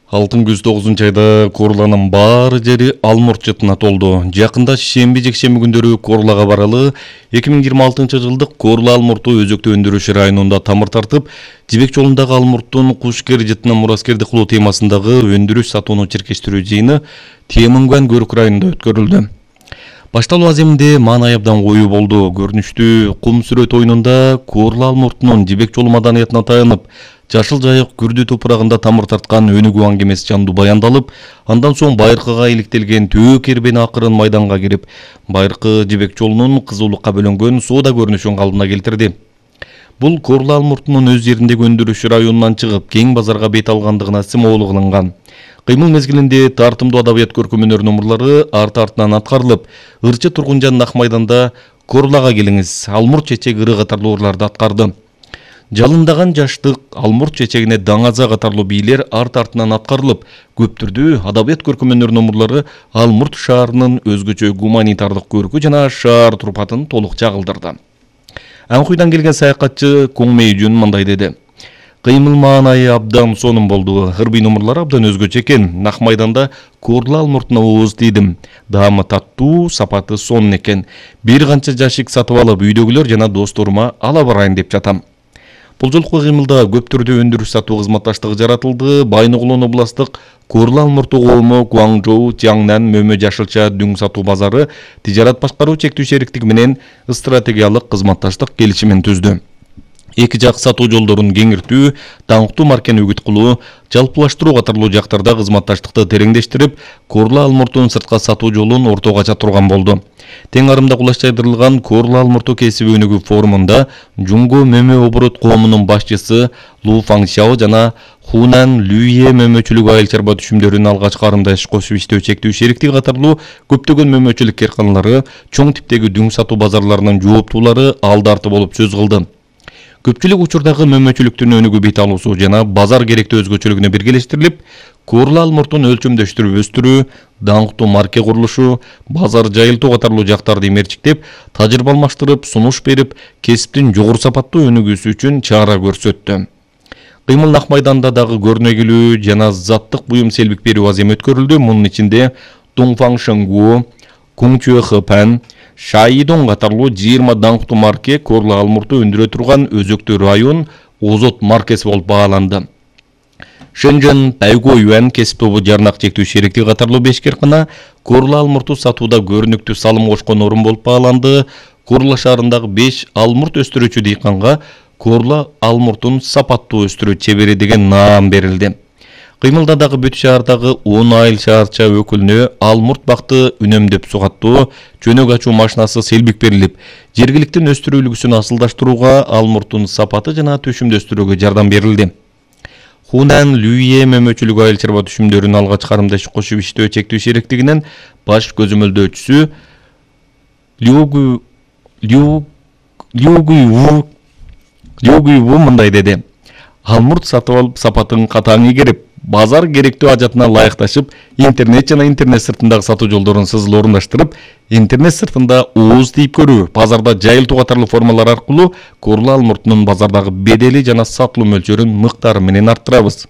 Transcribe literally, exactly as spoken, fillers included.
Алтын күз тогузунчу айда Корланын баары жери алмурт жытына толду. Жакында шемби жекшемби күндөрү Корлага баралы эки миң жыйырма алтынчы жылдык Корла алмурту өзөктө өндүрүш районунда тамыр тартып, Жибек жолундагы алмурттун кушкер жытына мураскерди кылуу темасындагы өндүрүш сатууну чиркештирүү жыйыны Теминган Көрүк районунда өткөрүлдү. Башталуу аземинде маанай абдан коюу болду. Көрүнүштүү кум сүрөт оюнунда Корла алмуртунун Жибек жолу маданиятына таянып, жашыл жайык күрдү топурагында тамыр тарткан өнүгүү аңгемеси жандуу баяндалып, андан соң байыркыга иликтелген төө кербен акырын майданга кирип, байыркы Жибек жолунун кызуулукка бөлөнгөн соода көрүнүшүн калдына келтирди. Бул Корла алмуртунун өз жериндеги өндүрүш районунан чыгып, кең базарга бет алгандыгына символу кылынган. Кыймыл мезгилинде тартымдуу адабият көркөмөнөр номурлары арт-артынан аткарылып, ырчы Тургунжан Ак майданда Корлага келиңиз, алмурт чечек ыры катарлуу ырларды аткарды. Жалындаган жаштык, алмурт чечегине даңаза катарлуу бийлер арт-артынан аткарылып, көптүрдүү адабият көркөмөнөр номурлары Алмурт шаарынын өзгөчө гуманитардык көркү жана шаар турпатын толук чагылдырды. Анкуйдан келген саякатчы Коңмейжүн мындай деди: Кыймыл маанайы абдан сонун болду. Ырбый номурлары абдан өзгөчө экен. Ак майданда Корла алмуртуна ооз тийдим. Даамы таттуу, сапаты сонун экен. Бир канча жашик сатып алып, үйдөгүлөр жана досторума ала барайын деп жатам. Бул жолку кыймылда көптүрдүү өндүрүш сатуу кызматташтыгы жаратылды. Байногулон областык Корла алмурту коому Гуаңжоу, Тиаңнан, Мөмө Жашылча дүң сатуу базары тижарат башкаруу чектүү шериктиги менен стратегиялык кызматташтык келишимин түздү. Эки жак сатуу жолдорун кеңиртүү, даңктуу маркени үгүт кылуу, жалпылаштыруу катарлуу жактарда кызматташтыкты тереңдештирип, Корла алмуртунун сыртка сатуу жолун ортого ача турган болду. Тең арымда кулачтайдырылган Корла алмурту кесиби өнүгүү форумунда Жунго Мөмө оборот коомунун башчысы Лу Фаңшао жана Хунан Люе мөмөчүлүк айыл чарба түшүмдөрүн алгачкы арымда иш кошуп иштөө чектүү шериктиги катарлуу көптөгөн мөмөчүлүк карканалары, чоң типтеги дүң сатуу базарларынын жооптуулары алды арты болуп сөз кылды. Көпчүлүк учурдагы мөмөчүлүктүн өнүгүү бет алуусу жана базар керектүү өзгөчөлүгүнө биргелештирилип, Корла алмуртун өлчөмдөштүрүп өстүрүү, даңктуу марке курулушу, базар жайылтуу катарлуу жактарды мерчиктеп, тажрыйба алмаштырып, сунуш берип, кесиптин жогору сапаттуу өнүгүүсү үчүн чара көрсөттү. Кыймыл Ак майданда дагы көрнөгүлүү жана заттык буюм селбик берүү аземи өткөрүлдү. Мунун ичинде Туңфаң Шыңгуу, Куңчуэ Хыпан, Шайидон катарлуу жыйырма даңктуу марке Корла алмурту өндүрө турган өзөктүү район озот маркеси болуп бааланды. Шэнжэн Тайго Юан кесип тобу жарнак чектүү шериктиги катарлуу беш каркана Корла алмурту сатууда көрүнүктүү салым кошкон орун болуп бааланды. Корла шаарындагы беш алмурт өстүрүүчү дыйканга Корла алмуртун сапаттуу өстүрүү чебери деген наам берилди. Кыймылда дагы бүт шаардагы он айыл шаарча өкүлүнө алмурт бакты үнөмдөп сугаттоо, чөнөк ачуу машинасы селбик берилип, жергиликтин өстүрүү үлгүсүн асылдаштырууга, алмуртун сапаты жана түшүмдөстүрүүгө жардам берилди. Хунан Люе мөмөчүлүк айыл чарба түшүмдөрүн алгачкы арымда иш кошуп иштөө чектүү шериктигинин баш көзөмөлдөөчүсү Льюгу Лью Льюгу Льюгу мындай деди: Алмурт сатып алып сапатын катаң игерип, базар керектүү ажатына ылайыкташып, интернет жана интернет сыртындагы сатуу жолдорун сызыл орундаштырып, интернет сыртында ооз тийип көрүү, базарда жайылтуу катарлуу формалар аркылуу Корла алмуртунун базардагы бедели жана сатылуу мөлчөрүн мыктары менен арттырабыз.